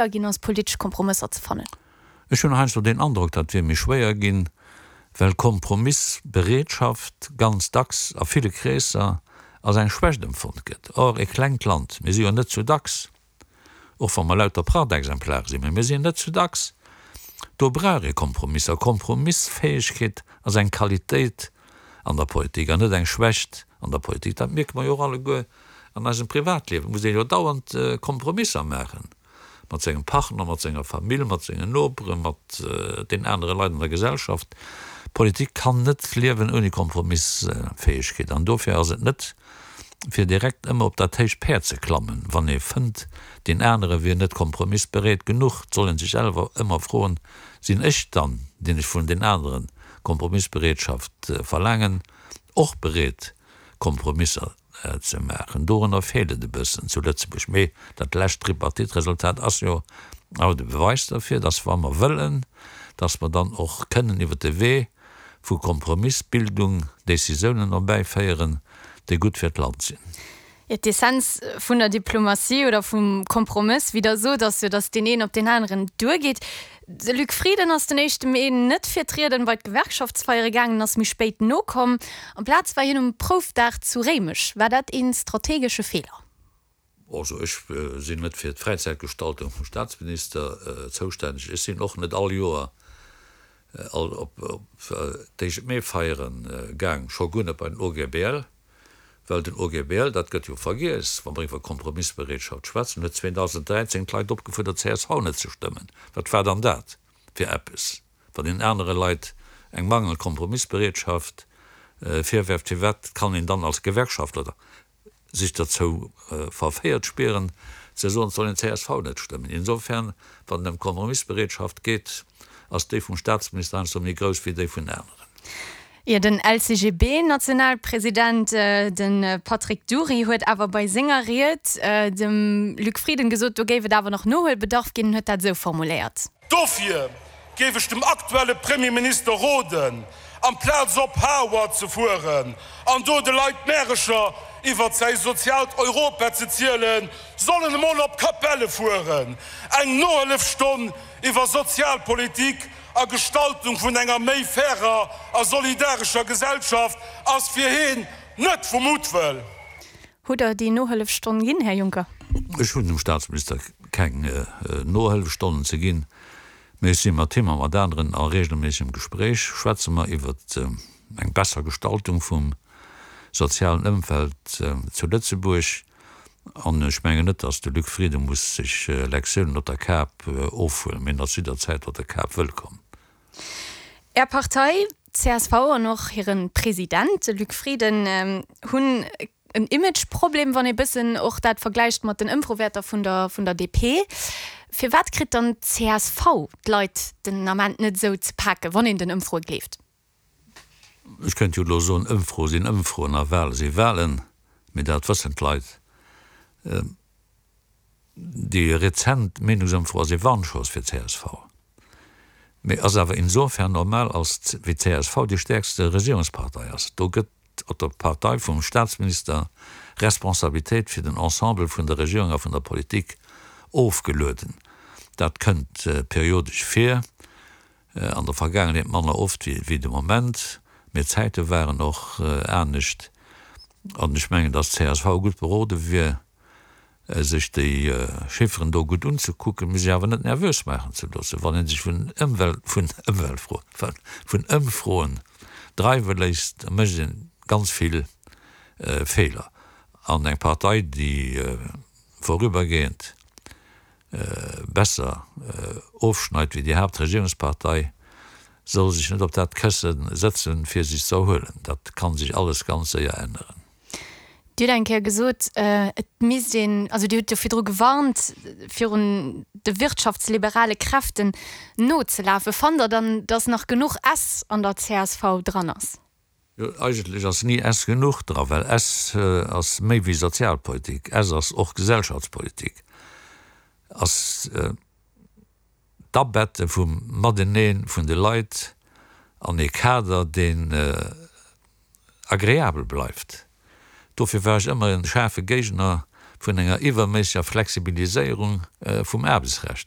Ginn ass, politesch Kompromësser ze fannen. Ech hunn heiansdo den Androck, dat wier méi schwéier ginn, well Kompromissbereetschaft ganz dacks a ville Kreesser als eng Schwächt empfonnt gëtt. Or, e klengt Land, mir si jo net zu dacks, och wa mer lauter Prachtexemplare sinn, mä mir sinn net zu dacks, do brauch ee Kompromisser. Kompromissfäegkeet ass eng Qualitéit an der Politik an net eng Schwächt an der Politik. Dat mierke mer jo och alleguer An eisem Privatliewe muss ee jo dauernd Kompromisser maachen, mat sengem Partner, mat senger Famill, mat sengen Noperen, mat den anere Leit an der Gesellschaft. Politik kann net liewen ouni Kompromissfäegkeet. An dofir ass et net fir direkt ëmmer op dat héicht Päerd ze klammen, wann ee fënnt, deen anere wier net kompromissbereet genuch. Et soll ee sech selwer ëmmer froen, Sinn ech dann, deen ech vun den anere Kompromissbereetschaft verlaangen, och bereet Kompromisser ze maachen. Dorunner feelt et e bëssen zu Lëtzebuerg. Mee dat lescht Tripartite-Resultat ass jo awer de Beweis derfir, dass wa mer wëllen, dass mer dann och kënnen iwwert de Wee vu Kompromissbildung Décisiounen erbäiféieren, déi gutt fir d'Land sinn. Jo, d'Essenz vun der Diplomatie oder vum Kompromëss, wéi Der sot, ass jo, datt deen een op deen aneren duergeet. De Luc Frieden ass den éischte Mee net fir d'Rieden bei d'Gewerkschaftsfeiere gaangen, ass méi spéit nokomm. Amplaz war hien um Proufdag zu Réimech. War dat ee strategesche Feeler? Also ech sinn net fir d'Fräizäitgestaltung vum Staatsminister zoustänneg. Ech sinn och net all Joer all op d'Éischt-Mee-Feiere gaang, scho guer net bei den OGBL. Well den OGBL, dat gëtt jo vergiess, wa mer iwwer Kompromissbereetschaft schwätzen, huet 2013 d'Leit opgefuerdert, csv net ze stëmmen. Wat war dann dat fir eppes? Wann een anere Leit eng mangelnd Kompromissbereetschaft virwerft, firwat kann een dann als Gewerkschaftler sech derzou verféiert spieren, ze soen, et soll een csv net stëmmen? Insofern, wann et ëm Kompromissbereetschaft geet, ass déi vum Staatsminister heiansdo méi grouss wéi déi vun aneren. Jo, den LCGB-Nationalpresident, de Patrick Dury, huet awer bei senger Ried dem Luc Frieden gesot, do géif et awer nach Nohuelbedarf ginn. En huet dat esou formuléiert. Dofir géif ech dem aktuelle Premierminister roden, amplaz op Harward ze fueren an do de Leit Märecher iwwert säi soziaalt Europa ze zielen, soll en emol op Capelle fueren, eng Nohëllefstonn iwwer Sozialpolitik a Gestaltung vun enger méi fairer a solidarescher Gesellschaft ass fir heen net vu Muttwëll. Hutt Der déi Nohëllefstonn ginn, Här Juncker? Ech hunn dem Staatsminister keng Nohëllefstonnen ze ginn, mee ech si mat him a mat aneren a regelméissegem Gespréich, schwätze mer iwwert eng besser Gestaltung vum sozialen Ëmfeld zu Lëtzebuerg. An ech mengen net, datt de Luc Frieden muss sech Lektiounen op der Kap ofhuelen, mee en ass jidderzäit op der Kap wëllkomm. Är Partei, csv, an och hire President, de Luc Frieden, hunn en Imageproblem, wann ee bëssen och dat vergläicht mat den Ëmfrowäerter vun der vun der DP. Firwat kritt dann d'CSV d'Leit den Ament net esou ze paken, wann een den Ëmfroe gleeft? Ech kéint jo elo soen, Ëmfroe sinn Ëmfroen a Wale si Walen, mee dat wëssen d'Leit. Déi rezent Meenungsëmfro ass ee Warnschoss fir csv, mee ass awer insofern normal, als wéi csv déi stäerkste Regierungspartei ass. Do gëtt op der Partei vum Staatsminister Responsabilitéit fir den Ensemble vun der Regierung a vun der Politik ofgelueden. Dat kënnt periodesch vir. An der Vergaangenheet manner oft wéi de Moment, mee d'Zäite waren och anescht. An ech mengen, datt csv gutt berode wier, sech déi Chifferen do gutt unzekucken, mee sech awer net nervös maachen ze loossen. Wann ee sech vun Ëmwelt, vun Ëmweltfroen, vun Ëmfroen dreiwe léisst, da mécht ee ganz vill Feeler. An eng Partei, déi vorübergehend besser ofschneit wéi déi Haaptregierungspartei, soll sech net op dat Kësse sëtzen, fir sech ze erhuelen. Dat ka sech alles ganz séier änneren. Dir hutt eng Kéier gesot, et misst een, also Dir hutt jo virdru gewarnt, virun de wirtschaftsliberale Kräften nozelafen. Fannt Der dann, datt nach genuch S an der csv dran ass? Jo, eigentlech ass ni S genuch dra, well S ass méi wéi Sozialpolitik, S ass och Gesellschaftspolitik, ass d'Abette vum Matenee vun de Leit an ee Kader, deen agreabel bleift. Dofir war ech ëmmer e schaarfe Géigner. vun enger iwwerméisseger Flexibiliséierung vum Aarbechtsrecht.